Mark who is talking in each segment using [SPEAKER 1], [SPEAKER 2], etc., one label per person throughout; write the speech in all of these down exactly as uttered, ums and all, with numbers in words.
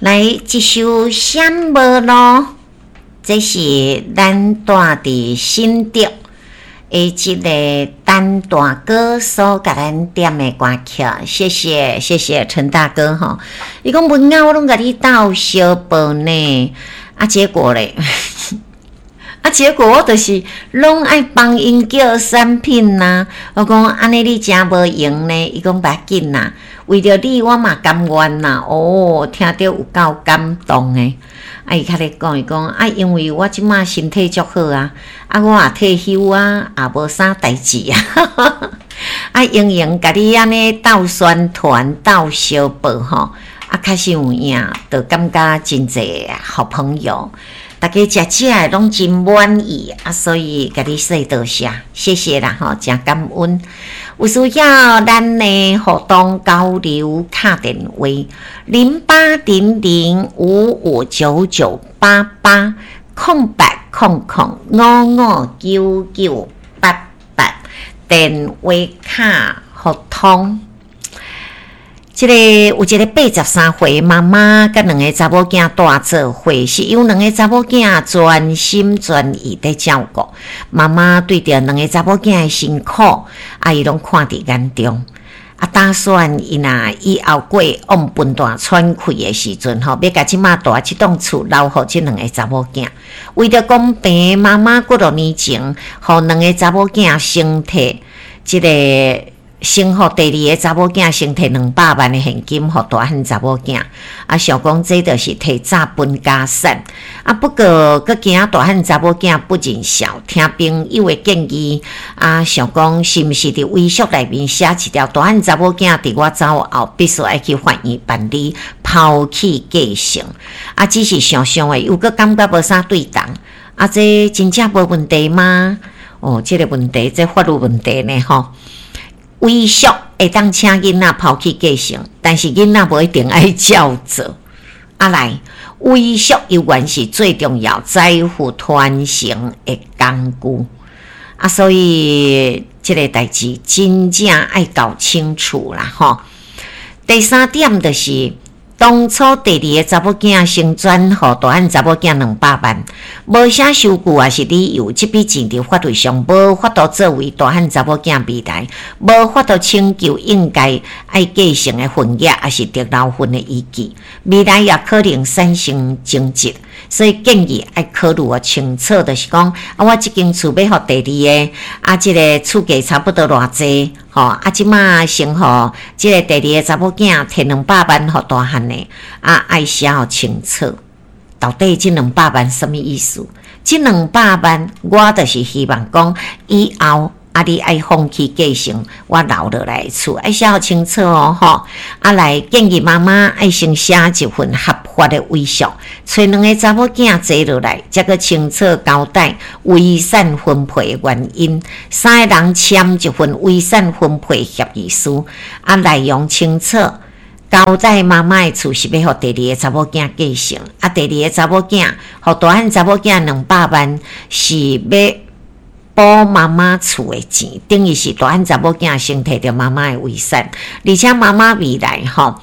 [SPEAKER 1] 來一首《閃無路》，這是咱住佇新竹的這个陳大哥所共咱點的歌曲，謝謝謝謝陳大哥吼。伊講文雅，我攏共你鬥相報呢，啊結果咧，啊結果我就是攏愛幫𪜶叫產品呐。我講按呢你誠無閒呢，伊講無要緊啦，為著你我嘛甘願啦。哦，聽著有夠感動的。啊，伊較咧講，伊講啊，因為我這馬身體足好啊，啊，我也退休啊，也無啥代誌啊，啊，閒閒共你按呢鬥宣傳、鬥相報吼，啊，確實有影，就感覺真濟好朋友，大家食食的攏真滿意啊，所以共你說多謝，謝謝啦吼，誠感恩。有需要咱的互動交流敲電話零八零零五五九九八八空八空空五五九九八八電話卡互通。這个有一个八十三歲媽媽，佮兩个查某囝蹛做伙，是由兩个查某囝全心全意佇照顧。媽媽對著兩个查某囝的辛苦，啊，伊攏看佇眼中。啊，打算伊若以後過往分段喘氣的時陣吼，欲共這馬蹛這棟厝留予這兩个查某囝。為著公平，媽媽幾若年前，予兩个查某囝先提這个。先予第二个查某囝先提兩百萬的現金，予大漢查某囝。啊，想講這就是提早分家產。啊，不過閣驚大漢查某囝不認孝，聽朋友的建議，啊，想講是毋是佇遺囑內面寫一條，大漢查某囝佇我走後，必須愛去法院辦理拋棄繼承。啊，只是想想的，又閣感覺無啥對頭。啊，這真正無問題嗎？哦，這个問題，這法律問題呢，吼。遺囑會當請囡仔拋棄繼承，但是囡仔無一定愛照做。啊來，遺囑猶原是最重要財富傳承的工具。啊，所以這个代誌真正愛搞清楚啦，吼。第三點就是，當初第二個查某囝先轉予大漢查某囝兩百萬，無寫收據抑是理由，這筆錢佇法律上無法度作為大漢查某囝未來無法度請求應該愛繼承的份額，抑是得留份的依據，未來也可能產生爭執，所以建議愛考慮清楚，就是講啊，我這間厝欲予第二个，啊，這个厝價差不多偌濟，吼，啊，這馬先予這个第二个查某囝提兩百萬予大漢的，啊，愛寫予清楚，到底這兩百萬啥物意思？這兩百萬，我就是希望講以後啊，你愛放棄繼承，我留落來厝，愛寫予清楚哦，吼！啊，來建議媽媽愛先寫一份合法的遺囑，揣兩个查某囝坐落來，才閣清楚交代遺產分配的原因，三个人簽一份遺產分配協議書，啊，內容清楚。交代媽媽的厝是欲予第二个查某囝繼承，啊，第二个查某囝予大漢查某囝兩百萬是欲補媽媽厝的錢，等於是大漢查某囝先提著媽媽的遺產，而且媽媽未來吼，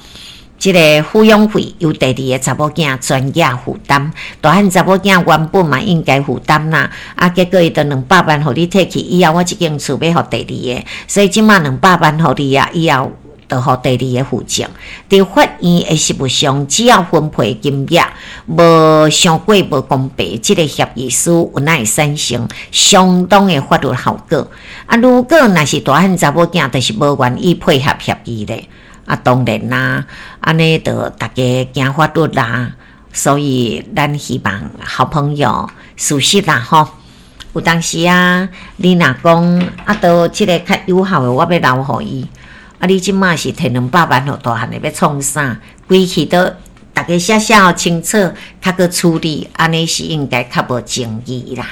[SPEAKER 1] 這个撫養費由第二个查某囝全額負擔，大漢查某囝原本嘛應該負擔啦，啊，結果伊就兩百萬予你提去，以後我這間厝欲予第二个，所以這馬兩百萬予你啊，以後就予第二个負責。佇法院的實務上，只要分配金額無傷過無公平，這个協議書有哪會產生相當的法律後果。啊，如果若是大漢查某囝就是無願意配合協議咧，啊，當然啦，按呢就大家行法律啦。所以咱希望好朋友事實啦吼，有當時啊，你若講啊，都這个較友好的，我欲留予伊。啊！你這馬是提兩百萬予大漢的，欲創啥？規氣都逐家寫寫予清楚，較閣處理，按呢是應該較無爭議啦。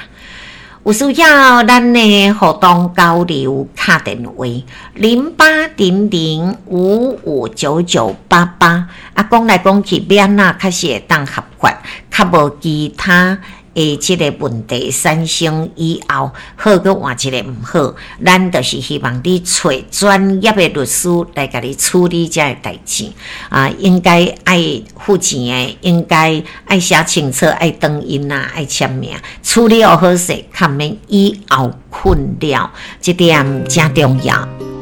[SPEAKER 1] 有需要咱的互動交流，敲電話零八零零五五九九八八。啊，講來講去，欲按怎較是會當合法，較無其他的的這个問題產生以後，好閣換一个毋好，咱就是希望你揣專業的律師來共你處理這个代誌。啊，應該愛付錢的，應該愛寫清楚，愛轉印啊，愛簽名，處理予好勢，較毋免以後困擾，這點誠重要。